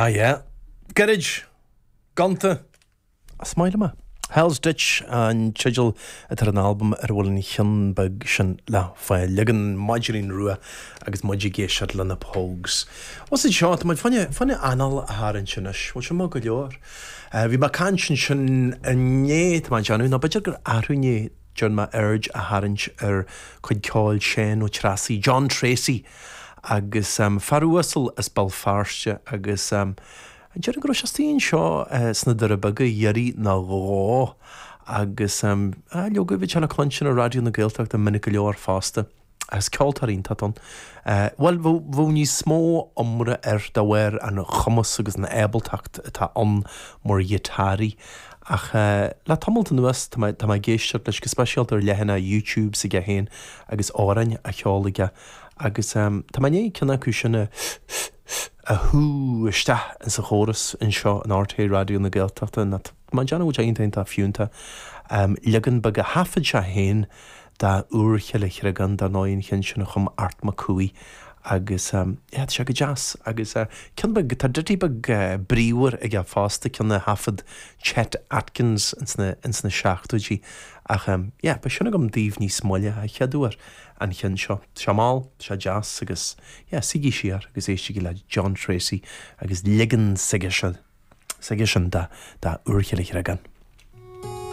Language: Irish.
Ah yeah. Gairid. Gonta. Is maith liom é. Hell's Ditch an teideal atá ar an albam ar a bhfuil an cheann beag sin le fáil. Leagan Maidhcilín Rua agus muid ag éisteacht le na Pogues. What's it seo? Tá muid fá choinne, fá choinne anáil a tharraingt anois. Bhfuil sin maith go leor? Bhí mé ag caint ansin inné, tá mé ag déanamh, nó b'fhéidir gur arú inné, Déarfainn mé aird a tharraingt ar chuid ceoil Seán Ó Treasaigh, John Treacy, agus fear uasal as Béal Feirste agus déarfainn go raibh sé istigh anseo sna Doirí Beaga iarraidh nó dhó agus leoga bhí sé le cluinstin ar Raidió na Gaeltachta minic go leor fosta. Is ceoltóir iontach ann. Bhuel, bheadh níos mó iomrá air de bharr an chumas agus an ábaltacht atá ann mar ghiotáraí. Ach le tamalt anuas tá mé tá mé ag éisteacht leis go speisialta ar leathanach YouTube s'aige féin agus amhráin á cheol aige agus tá mé i ndiaidh ceann acu sin a a shú isteach insa chóras anseo in RTÉ Raidió na Gaeltachta. Tá mé ag déanamh go bhfuil sé iontach iontach fiúntach. Leagan beag a thaifead sé féin de Úr Chille Chreagáin, dar ndóigh, an cheann sin a chum Art Mac Cumhaigh agus yeah, tá sé go deas agus ceann beag, tá ditty beag bríomhar aige fosta, ceann a thaifead Chet Atkins ins na, ins na seachtóidí ach yeah, beidh sin agam daoibh níos moille, a chéaduair an cheann seo. Tá sé mall, tá sé deas agus yeah, suígí siar agus éistigí le John Treacy agus leagan s'aigesean, s'aigesean de, de Úr Chille Chreagáin.